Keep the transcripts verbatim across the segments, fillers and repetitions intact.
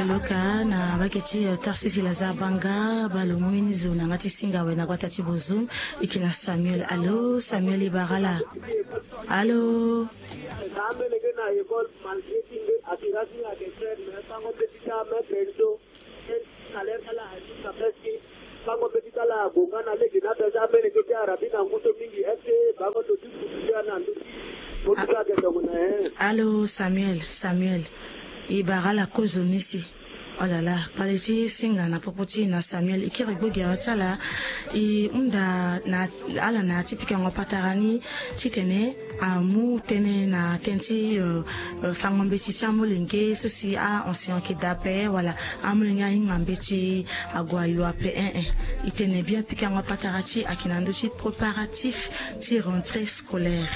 Loka na bake ti tarsisi lazare banga balo mu mini zo na nga ti singa we na gbata ti bozo. Eke na samuel alo samuel ibara la. Alo. Ame lenge na ekole malgré ti nde assurance ni ake frère mais sango mbeti ti ame bendo. Salaire ti ala ajusta presque. Sango mbeti ti ala agonga na lege na pesa ame lenge ti arabi na ngu so mingi est ce que bango ndo ti futu ti ana ndo ti. Mo ti so ake tongo na en. Alo samuel samuel. Ibara la kozo ni si. Olala kpale ti singa na popo ti na samuel e kiri gbogere ti ala. E hunda na ala na ya ti pikango patara ni titene amu tënë na tënë ti fango mbeti ti amolenge so si a-enseignant yeke daa ape wala amolenge ahinga mbeti ague ayo ape. Ee. E tene bien pikango patara ti e ayeke na ndö ti préparatif ti rentrée scolaire.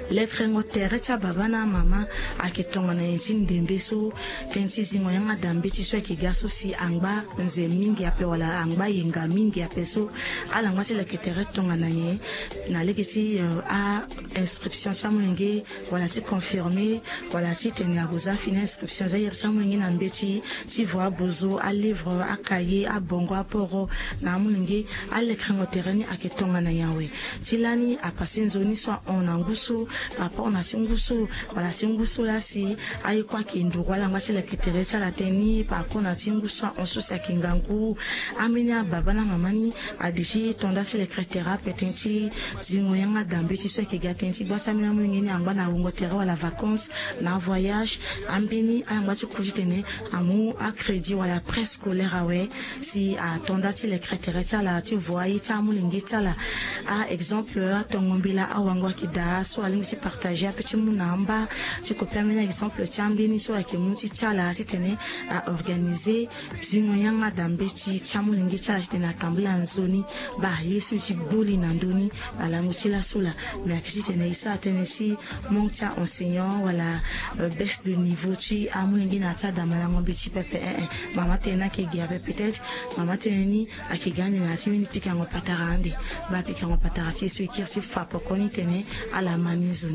Lekrengo tere ti ababa na amama ayeke tongana nyen ti ndembe so tënë ti zingo yanga da mbeti so ayeke ga so si angba nze mingi ape wala angba yenga mingi ape so ala ngba ti leke tere tongana nyen? Na lege ti a-inscription ti amolenge wala ti confirmer wala ti tene ague za fini inscription za iri ti amolenge na mbeti ti vo abozo alivre akaye abongo aporo na amolenge. Alekrengo tere ni ayeke tongana nyen awe? Ti lani apase nzoni so ahon na ngu so par rapport na ti ngu so wala ti ngu so laa si aye kue ayeke nduru ala ngba ti leke tere ti ala tënë ni par rapport na ti ngu so ahon so si ayeke ngangu. Ambeni ababa na mama ni ade ti to nda ti leke tere ape tënë ti zingo yanga da mbeti so ayeke ga tënë ti gbasa ambeni amolenge ni angba na wungo tere wala vacances na avoyage. Ambeni ala ngba ti ku titene amu acrédit wala prêt scolaire awe si ato nda ti leke tere ti ala ti vo aye ti amolenge ti ala. A-exemple atongo mbela awango ayeke daa so alingbi ti partager ape ti mu na amba ti kopi ambeni exemple ti ambeni so ayeke mu ti ti ala titene a-organiser zingo yanga da mbeti ti amolenge ti ala titene atambula nzoni. Baa ye so e ti gbu li na ndö ni na lango ti laso laa. Me ayeke titene e sara tënë si manque ti a-enseignant wala baisse de niveau ti amolenge na ya ti ada malango mbeti pepe. Ee. Mama tënë ni ayeke ge ape peut-être mama tënë ni ayeke ga ande na ya ti mbeni pikango patara ande. Baa pikango patara ti e so e kiri ti fa poko ni tene ala ma ni nzoni.